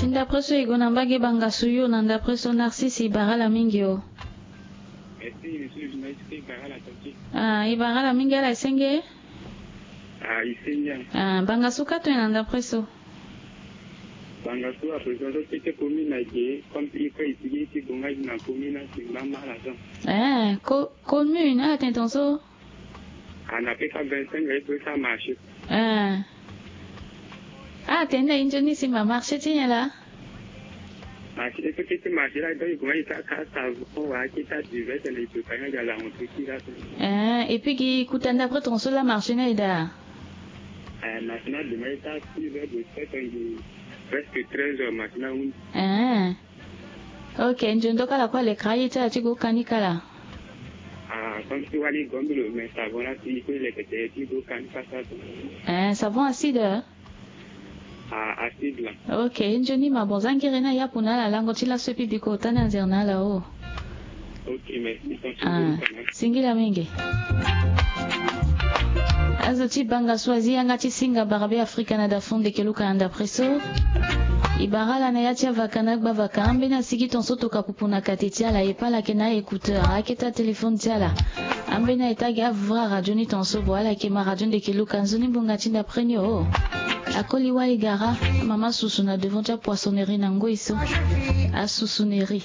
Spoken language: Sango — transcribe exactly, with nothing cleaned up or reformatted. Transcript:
Ti ndapre so e gue na mbage banga su yo na ndapre so Narcisse, e bara ala mingi o. Ah, e bara ala mingi, ala e senge. Ah, banga su ka to e na ndapre so? Banga su à présent so tete commune na ge comme il faut itigi ti bonga na commune na simba mala so. Eh, commune ala tene ton so? Ah, na peka vingt-cinq aye pe sa marché. Eh. Ah, tene na injoni simba marché ti nyen la? Marché ti marché la, donc il commence à casser avant, ouais, qui t'a diverti les deux quand il y a la rentrée qui la. Eh, et puis qui coûte un d'après ton seul la marché na ida. Eh, maintenant demain il t'a six heures de sept heures, presque treize heures maintenant. Eh. Ok, nzondo kala kue alekera ye ti ala ti gue kani kala. Ah, comme si wali gombi lo mais savon la si il faut lekete ti gue kani kasa. Eh, savon acide? Ah, acide la. Ok, nzoni ma bon, za ngere na yapu na ala lango ti laso epi biko ota na nzere na ala o. Ok, merci. Ah, singila mingi. Azo ti banga so azi yanga ti singa barabe Afrika na dafon ndeke luka anda preso. E bara ala na ya ti avaka na agba vaka ambeni asigi ton so toka pupu na kate ti ala e pe ala yeke na écouteur ayeke ti atelefone ti ala. Ambeni aye ti agi avra radio ni ton so bo ala yeke ma radio ndeke luka nzoni mbunga ti ndapre ni o. Akoli wali gara mama susu na devant ti apoissonnerie na ngoi so. Asusonnerie.